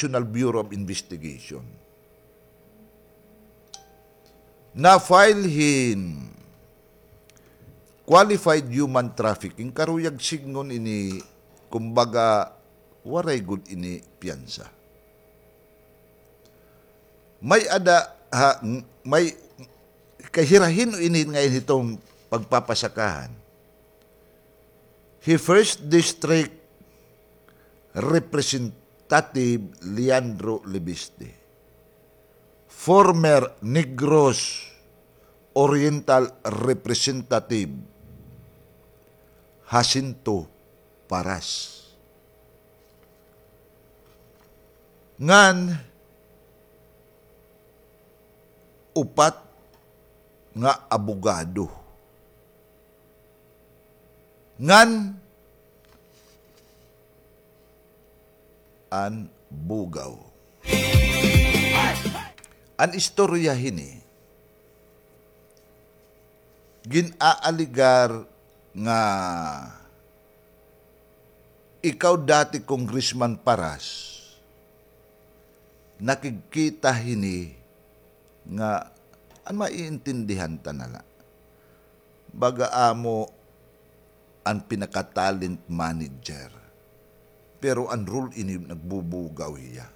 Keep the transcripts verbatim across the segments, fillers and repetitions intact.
National Bureau of Investigation. Na-file hin qualified human trafficking, karuyag sidngon ini, kumbaga, waray gud ini piyansa. May ada, ha, may, kay hira hin-o ini ngay-an hiton pagpapasakahan. Hi First District Representative Leandro Leviste, former Negros Oriental Representative Jacinto Paras, ngan upat nga abogado ngan an bugaw. An istorya hini, gin-aaligar nga ikaw, dati Congressman Paras, nakigkita hini nga, an maiintindihan ta na la, baga amo an pinaka-talent manager, pero an role ini nagbubugaw hiya.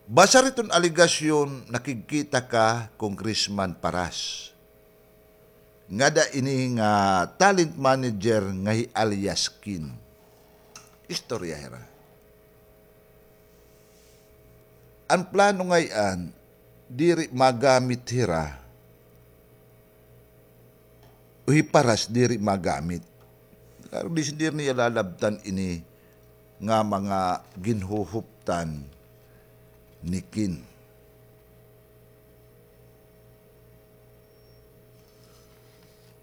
Basar hiton alegasyon, nakigkita ka, Congressman Paras, ngada ini nga talent manager nga hi alias Kin. Istorya hira. An plano ngay-an, diri magamit hira, o hi Paras diri magamit. Kay diri niya lalabtan ini nga mga ginhuhuptan ni Kin.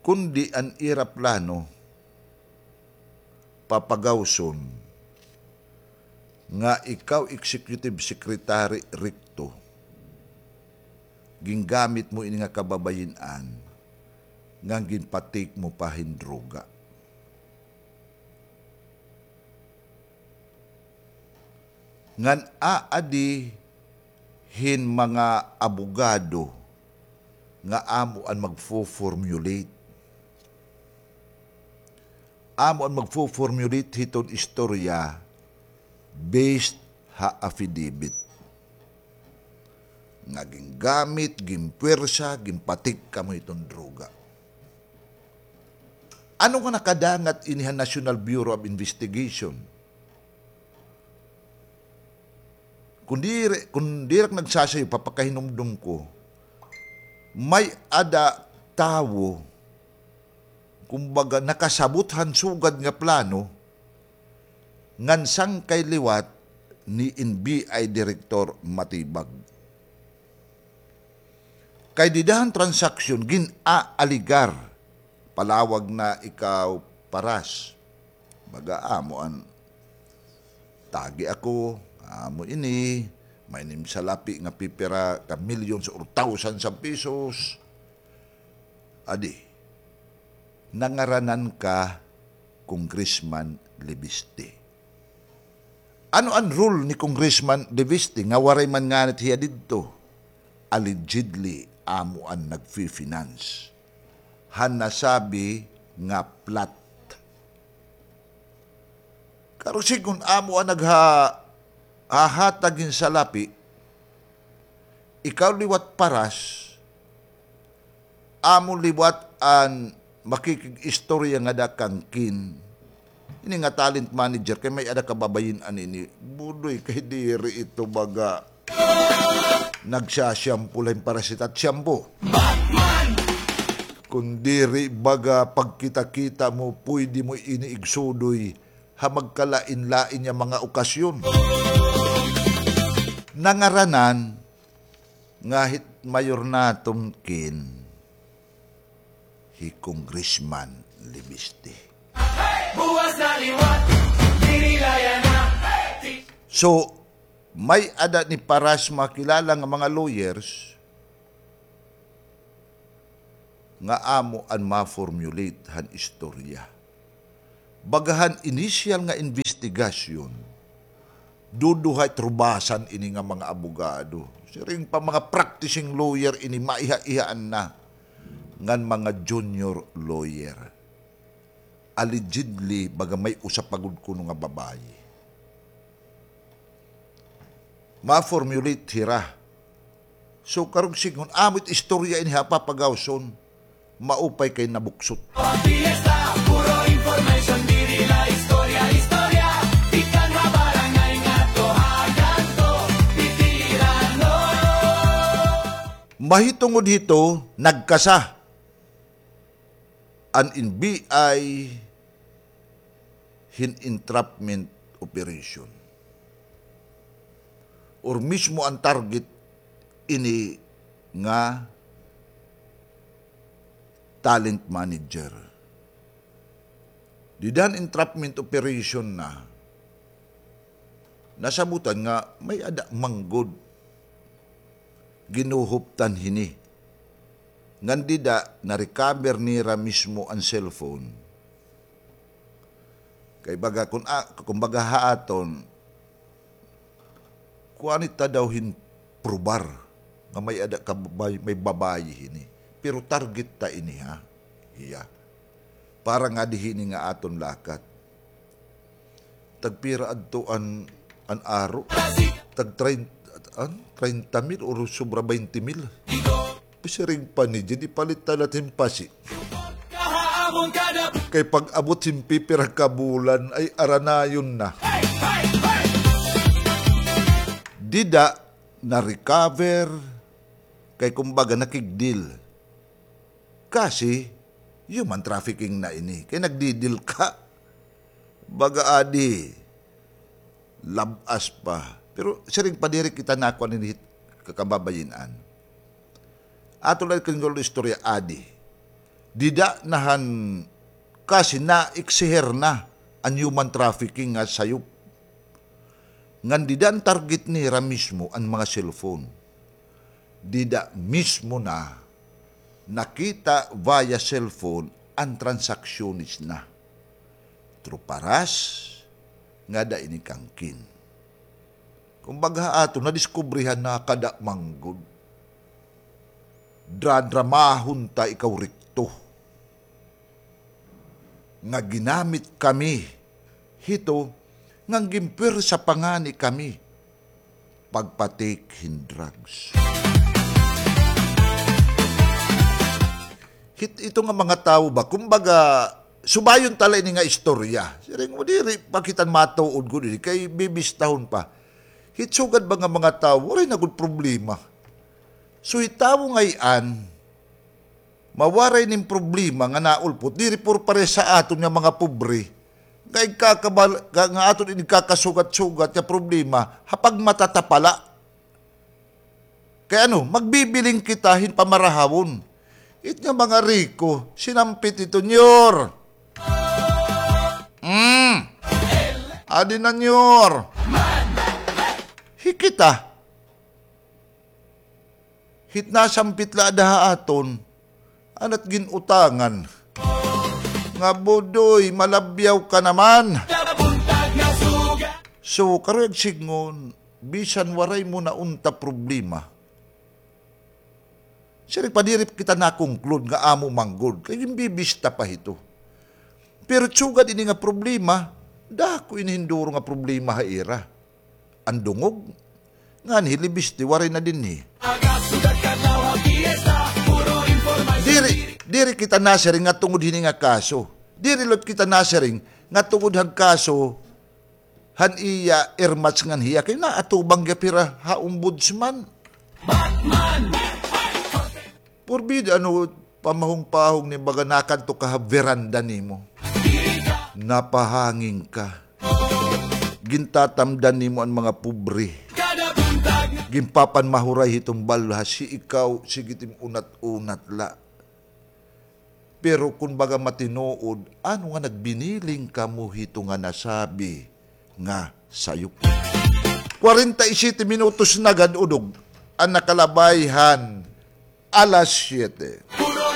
Kundi an ira plano, papagawson nga ikaw, Executive Secretary Recto, gingamit mo ini nga kababayin-an ngan ginpa-take mo pa hin droga. Ngan aadi hin mga abogado nga amo an magfo-formulate. Amo an magfo-formulate hiton istorya based ha affidavit nga gingamit, ginpuwersa, ginpa-take kamo hiton droga. Ano nga nakadangat ini ha National Bureau of Investigation? Kon diri, kon diri ak nagsasayo, papakahinumdom ko, may-ada tawo, kumbaga, nakasabot han sugad nga plano, ngan sangkay liwat ni N B I Director Matibag. Kay dida han transaksyon, gin-aaligar, palawag na ikaw, Paras. Baga amo an tagi ako, amo ini, may nim salapi nga pipira ka millions or thousands of pesos. Adi, nangaranan ka Congressman Leviste. Ano an role ni Congressman Leviste nga waray man nganit hiya didto? Allegedly, amo an nagfi-finance han nasabi nga plot. Karo sidngon, amo an nagha-, hahatag hin salapi, ikaw liwat, Paras, amo liwat an makikig-istorya ngada kan Kin. Ini nga talent manager, kay may-ada kababayin-an ini. Budoy, kay diri ito baga nagsa-shampoo la hin Paras hit at shampoo. Kon diri baga pagkita-kita mo, pwede mo ini igsudoy ha magkalain-lain nga mga okasyon. Nangaranan nga hit mayor naton, Kin, hi Congressman Leviste. So, may-ada ni Paras makilala nga mga lawyers nga amo an ma-formulate han istorya. Baga han initial nga investigation, imbestigasyon. Duduha it rubasan ini nga mga abogado. Siring pa mga practicing lawyer ini, maiha-ihaan na ngan mga junior lawyer. Allegedly, baga may usa pa gud kuno nga babayi. Ma-formulate hira. So, karong sidngon, amo it istorya ini ha, papagawson. Maupay kay nabuksot. Fiesta, puro information, diri la istorya, istorya. Tikang ha barangay ngadto ha kanto, bitirano. Mahitungod hito, nagkasa an N B I hin entrapment operation. Or mismo an target ini nga talent manager. Dida han entrapment operation na, nasabutan nga may-ada man gud ginuhuptan hini. Ngan dida, na-recover nira mismo an cellphone. Kay baga, kun, ah, kumbaga ha aton, kuan ita daw hin probar nga may-ada ka babay-, may babayi hini. Pero target ta ini, ha? Hiya. Para nga di hini nga aton lakat. Tagpira adto an, an aro? Tag train-, an, treinta mil or sobra baynte mil? Siring pa ni Jed, ipalit ta la hin pasi. Kay pag-abot hin pipira ka bulan, ay aranayon na. Dida, na-recover, kay kumbaga nakig-deal. Kasi, human trafficking na ini. Kay nagdi-deal ka. Baga adi, lab-as pa. Pero siring pa, diri kita nakuan ini, kakababayin-an. Ato la kay istorya adi. Dida na han, kasi naeksiher na an human trafficking nga sayop. Ngan dida an target nira mismo an mga cellphone. Dida mismo na nakita via cellphone an transactions na. Through Paras, ngada ini kang Kin. Kumbaga ha aton, nadiskubrihan na kada man gud. Dradramahon ta ikaw rikto. Nga ginamit kami hito, ngan ginpwersa pa ngani kami pagpa-take hin drugs. Hit-, ito nga mga tawo ba, kumbaga, subayon ta la ini nga istorya. Siring mo, diri pa kita matuod gud ini, kay bibistahon pa. Hit sugad ba nga mga tawo, waray na gud problema. So, hit tawo ngay-an, mawaray nin problema nga naulpot, diri por pares sa aton nga mga pobre. Nga igkakabal-, nga, nga aton igkakasugat-sugat nga problema, ha pagmatatapala. Kay ano, magbibiling kita hin pamarahawon. It nga mga riko, sinampit ito, Nyor. Mm. Adi na, Nyor. Hi kita. Hit nasampit la ada ha aton, anat gin-utangan. Nga, Budoy, malabyaw ka naman. So, karuyag sidngon, bisan waray mo na unta problema. Siring pa, diri kita na-conclude nga amo man gud, kay ginbibista pa hito. Pero sugad ini nga problema, dako ini hin duro nga problema ha ira. An dungog, nganhi libiste, waray na dinhi. Diri, diri kita nasiring nga tungod hini nga kaso. Diri liwat kita nasiring nga tungod han kaso han iya Air Marts ngan hiya kay naatubang gihap hira ha ombudsman. Batman! Purbida, ano, pamahong-pahong ni baga nakadto ka ha veranda nimo. Napahangin ka. Gintatamdan nimo an mga pobre. Ginpapanmahuray hiton balhas, hi ikaw, sige it im unat-unat la. Pero kun baga matinuod, ano nga nagbiniling kamo hito nga nasabi nga sayop? Kwarenta y siyete minutos na gad, udog an nakalabay han alas siyete.